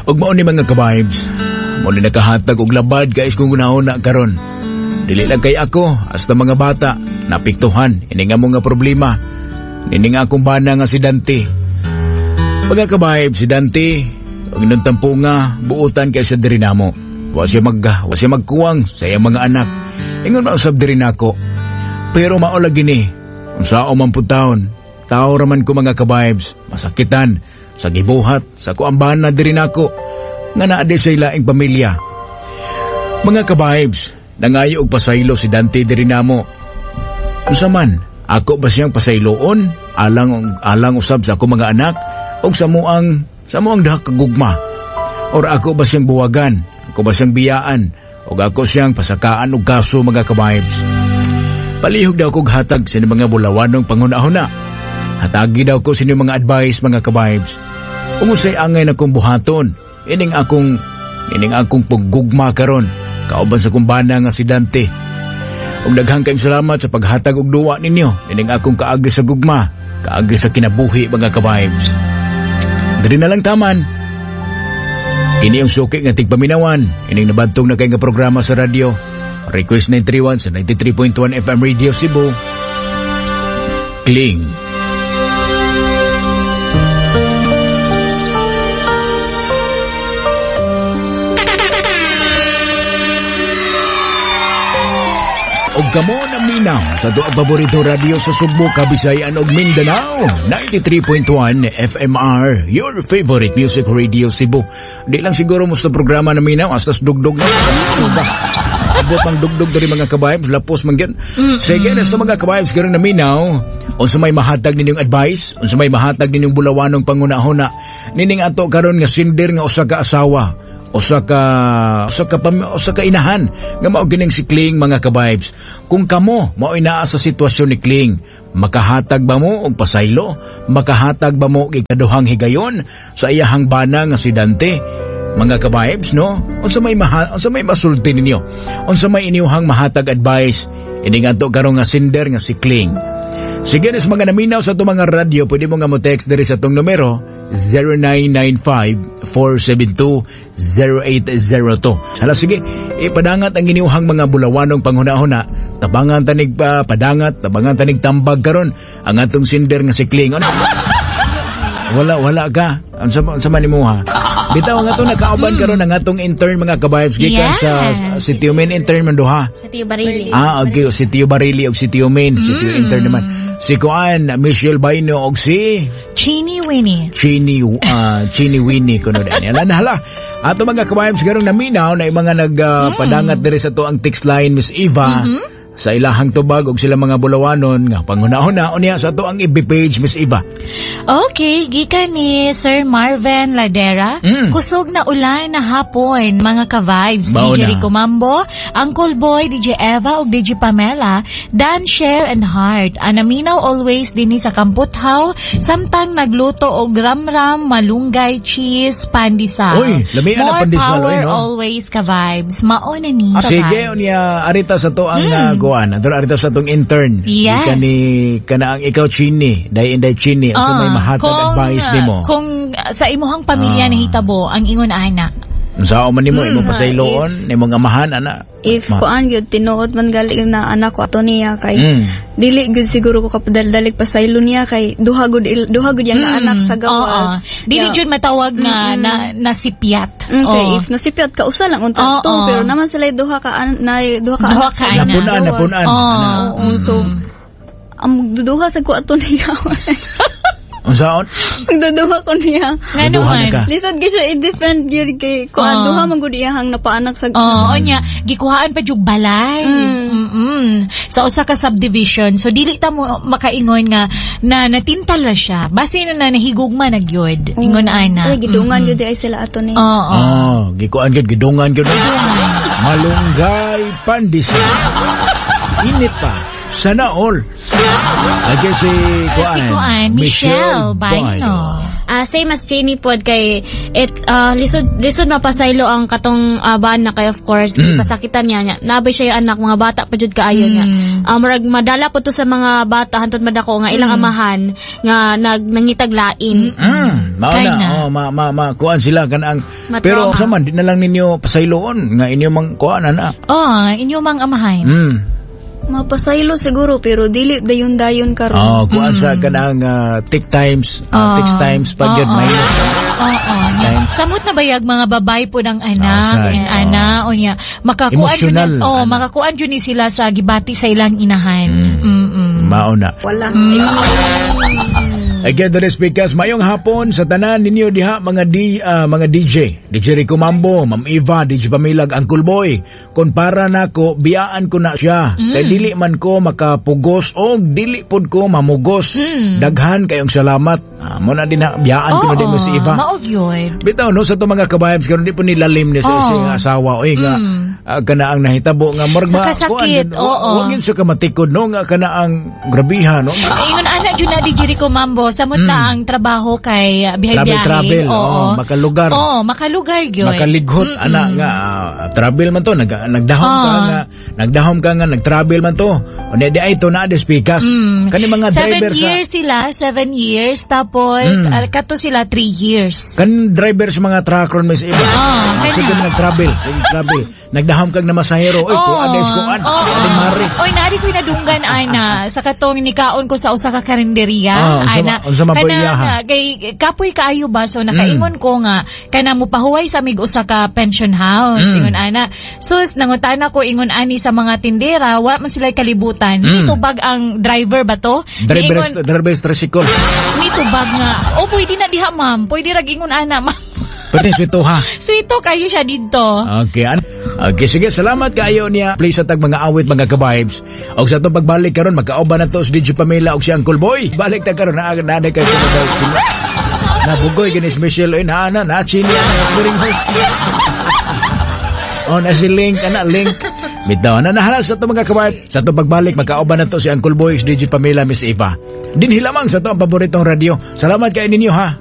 Ug mao ni, mga ka-vibes, mao ni nakahatag og labad guys kung gunahon karon. Dili lang kay ako, hasta mga bata, napiktuhan, ini nga mga problema. Ini nga akong bana nga si Dante. Mga ka-vibes, si Dante, ang inyong tampunga, buutan kay siya diri namo. Wa siya magkuwang sa iyang mga anak. Ingon mausab diri nako. Pero mao lagi ni, unsaon man pud taon, tao raman ko, mga ka-vibes, masakitan, sa gibuhat, sa kuang bana diri nako, nga naa di sa ilaing pamilya. Mga ka-vibes, nangayo og pasaylo si Dante diri namo. Unsa man, ako ba siyang pasayloon, alang alang usab sa ako mga anak, og sa muang duha ka gugma? Or ako ba siyang buwagan, ako ba siyang biyaan, og ako siyang pasakaan og kaso, mga ka-vibes? Palihog daw kog hatag sa mga bulawanong panghuna-huna. Hatagi daw ko sa inyong mga advice, mga ka-vibes. Kung unsay angay na kong buhaton, ining akong paggugma karon kauban sa kumbana nga si Dante. Ug daghang kayong salamat sa paghatag og duwa ninyo ining akong kaagi sa gugma, kaagi sa kinabuhi, mga ka-vibes. Diri na lang taman. Kini ang suki nga tigpaminawan, ining nabantog na kay nga programa sa radyo. Request 931 sa 93.1 FM Radio Cebu. Kling. Og kamo naminaw sa ato ang paborito radio sa Sugbo, Kabisayan ug Mindanao. 93.1 FMR, your favorite music radio Cebu. Di lang siguro mo sa programa naminaw, hasta sa dugdog na. Abot ang dugdog diri, mga ka-vibes, lapos man gyud. Sige na sa mga ka-vibes karon naminaw, unsa may mahatag ninyong advice, unsa may mahatag ninyong bulawanong panghuna-huna nining ato karon nga sinder nga usa ka asawa, usa ka inahan nga mao gining si Kling, mga ka-vibes. Kung kamo mao naa sa sitwasyon ni Kling, makahatag ba mo og pasaylo? Makahatag ba mo og ikaduhang higayon sa iyahang bana nga si Dante? Mga ka-vibes, no? Unsa may masulti ninyo? Unsa may inyuhang mahatag advice ini nga ato karon nga sinder nga si Kling? Sige na sa mga naminaw sa atong mga radyo, pwede mo nga mo text diri sa atong numero 0995-472-0802. Hala sige, ipadangat ang inyuhang mga bulawanong panghuna-huna. Tabangan tanig pa, padangat, tabangan tanig tambag karon ang atong sinder nga si Kling. Ano? Wala, wala ka. Unsa man nimo ha? Bitaw nga to nakauban karon ang atong intern, mga ka-vibes, gikan sa si Tio Min intern man duha. Sa Tio Barili. Ah, okay. Si Tio Barili og si Tio Min. Si Tio intern naman. Si Kuan, Michelle Baino og si Chini Winnie. Chini Winnie kuno dani. Ala na hala. Ato mga ka-vibes karong naminaw na yung mga nagpadangat diri sa to ang text line, Miss Eva. Sa ilahang tubag og sila mga bulawanon nga panghuna-huna unya sa ato ang FB page, Miss Eva. Okay, gikan ni Sir Marvin Ladera. Kusog na ulan na hapon, mga ka-vibes. Mao DJ na. Rico Mambo, Uncle Boy, DJ Eva ug DJ Pamela, Dan Share and Heart. Anaminaw always dinhi sa Kamputhaw, samtang nagluto og ramram, malunggay, cheese, pandesal. Uy, lami ang More pandesal, power oy, no? always, ka-vibes. Mao na ni Ah, sige, ka-vibes. Unya arita sa to ang kuan. Ato arita sa tong intern. Yes. Gikan ni kana ang ikaw Chini, day inday Chini, unsa may Ah, mahatag advice nimo? Kung sa imuhang pamilya nahitabo ang ingon ana. Unsa man nimo imong pasayloon, imong amahan ana? If kuan gyud, tinuod man gali na anak ko ato niya kay dili gyud siguro ko kapadaldalig pasaylo niya kay duha gud yang anak sa gawas. Oo. Dili jud matawag nga na nasipyat. Kay Oo. if nasipyat ka, usa lang unta to, pero naman sila duha ka na duha ka Duha anak ka sa anak. Napunan, gawas. napunan. Oo. Ana. Oo, so ang magduduha sa ko ato niya. Unsaon? Magduduha ko niya. Nga Duduha naman. na ka. Lisod gyud siya i-defend gyud kay kuan, duha man gud iyahang napaanak sa Oo, nya gikuhaan pa jug balay. Sa usa ka subdivision. So dili ta mo makaingon nga na natintal ra siya. Base na na nahigugma na gyud. Ingon ana. Ay, gidungan gyud ay sila ato niya. Oo. Oh, gikuan gyud, gidungan gyud. Malunggay pandesal. Init pa. Sana all. Lagi si Si Kuan, Kuan, Michelle Baino. Same as Jenny pod kay it lisod lisod mapasaylo ang katong bana kay of course pasakitan niya niya. Nabay siya yung anak, mga bata pa jud kaayo niya. Murag madala po to sa mga bata hantod madako nga ilang amahan nga nag nangitag lain. Mao Kay na, na. oh, ma ma ma kuan sila kanang Matrauma. pero sa man di na lang ninyo pasayloon nga inyo mang kuan ana. Oh, inyo mang amahan. Mapasaylo siguro pero dili dayon dayon karon. Oh, kuan sa kanang tick times, tick times pa gyud minus. Oo. Times. Samot na bayag mga babae po ng anak, Outside, eh, ana, o niya. Makakuan jud Emotional, ni, oh, ana. makakuan jud ni sila sa gibati sa ilang inahan. Mao na. Wala. Again, the speakers, mayong hapon sa tanan ninyo diha mga mga DJ. DJ Rico Mambo, Ma'am Eva, DJ Pamilag, Uncle Boy. Kung para nako, biyaan ko na siya. Kay dili man ko makapugos o dili pod ko mamugos. Daghan kayong salamat. Mo na din ha, biyaan ko na din mo si Eva. Mao gyud. Bitaw no sa to mga kabayabs karon di po nilalim ni sa isang asawa oy nga kana ang nahitabo nga murag Sa kasakit, kuan, oo. wa gyud siya kamatikod no nga kana ang grabiha no. Ingon ana jud na DJ Rico Mambo, samot na ang trabaho kay bihay-biyahe. Travel travel, oo, makalugar. Oo, makalugar gyud. Makalighot ana nga travel man to nagdahom ka nga nagdahom ka nga nagtravel man to. Unya di ay to na di speakers. Kani mga 7 driver sa years sila, 7 years, tapos kato sila 3 years. Kan driver sa mga truck ron mis iba. Kanya. Sige nagtravel, sige travel. Nagdahom kag na masahero, oy kuan des kuan. Adi mari. Oy, naari ko'y nadunggan, ana, sa katong nikaon ko sa usa ka karinderya, ana. Unsa man po Kana iyaha? nga, kay kapoy kaayo ba, so nakaingon ko nga kana mopahuway sa mig usa ka pension house, ingon ana. Sus, nangutana ko ingon ani sa mga tindera, wa man sila kalibutan. Nitubag ang driver ba to? Driver Niingon, driver tricycle. nitubag nga, "Oh, pwede na diha, ma'am. Pwede ra," ingon ana, "ma'am." Pwede swito ha. Sweeto kayo siya didto. Okay, okay, sige, salamat kaayo niya. Please sa tag mga awit mga ka-vibes. Og sa atong pagbalik karon magkaoban na to si DJ Pamela og si Uncle Boy. Balik ta karon na na kay Nabugoy gini si Michelle oy na na na chili na ring. Oh, na si Link, ana Link. Bitaw na nahala sa ato mga kabayat. Sa atong pagbalik, magkaoban na to si Uncle Boy, si DJ Pamela, Miss Eva. Dinhi lamang sa ato ang paboritong radyo. Salamat kay ninyo ha.